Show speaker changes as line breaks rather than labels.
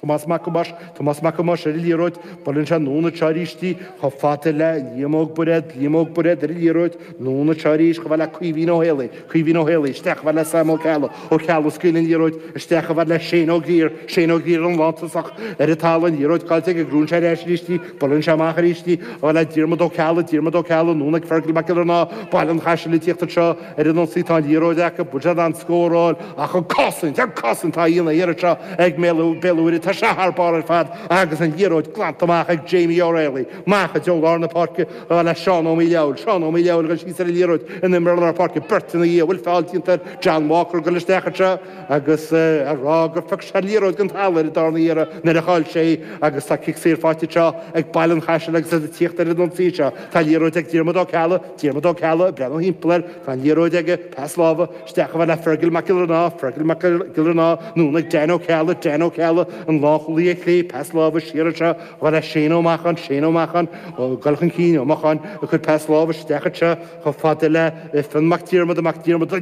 Tomás Mac Thomáis, Tomás Mac Thomáis ar an liathróid, buaileann sé anonn anseo arís í, chomh fada le Liam Óg Bairéad, Liam Óg Bairéad ar an liathróid, anonn anseo arís chomh fada le Caoimhín Ó Héalaí, Caoimhín Ó Héalaí, isteach chomh fada le Sam Ó Ceallaigh, Ó Ceallaigh ag scaoileadh an liathróid, isteach chomh fada le Shane Ó Grier, Shane Ó Grier an lántosach ar an talamh, an liathróid caillte aige, gnóthaíonn sé ar ais arís í, buaileann sé amach arís í, chomh fada le Diarmuid Ó Ceallaigh, Diarmuid Ó Ceallaigh, anonn ag Fergal Mac Giollarnáth, Baile an Chaisil ag tíocht anseo ar an ionsaí, tá an liathróid acu, bhfuil siad in ann scór a fháil ach an cosaint, an cosaint atá á dhéanamh thiar anseo ag Béal Mhuirthead, tá sé thar barr ar fad agus an liathróid glanta amach ag Jamie O'Reilly, amach i dtreo lár na páirce le Seán Ó Maoileabhail, Seán Ó Maoileabhail ag dul síos ar an liathróid in imreoir lár páirce, beirt ina dhiaidh, bhfuil feall déanta ar John Walker ag dul isteach anseo agus a rá gur phioc sé an liathróid den talamh ar an darna iarraidh nuair a chaill sé í agus tá cic saor faighte anseo ag Baile an Chaisil agus iad ag tíocht ar an ionsaí seo. Tá liathróid ag Diarmuid Ó Ceallaigh, Diarmuid Ó Ceallaigh ag breathnú thimpeall air, tá an liathróid aige, pas láimhe, isteach chomh fada le Fergal Mac Giollarnáth, Fergal Mac Giollarnáth, anonn ag Dan Ó Ceallaigh, Dan Ó Ceallaigh, an lánchúlaí ar chlé, pas láimhe siar anseo chomh fada le Shane Ó Macháin, Shane Ó Macháin, ag dul chun cinn, Ó Macháin ag cur pas láimhe isteach anseo chomh fada le Fionn Mac Diarmada, Mac Diarmada.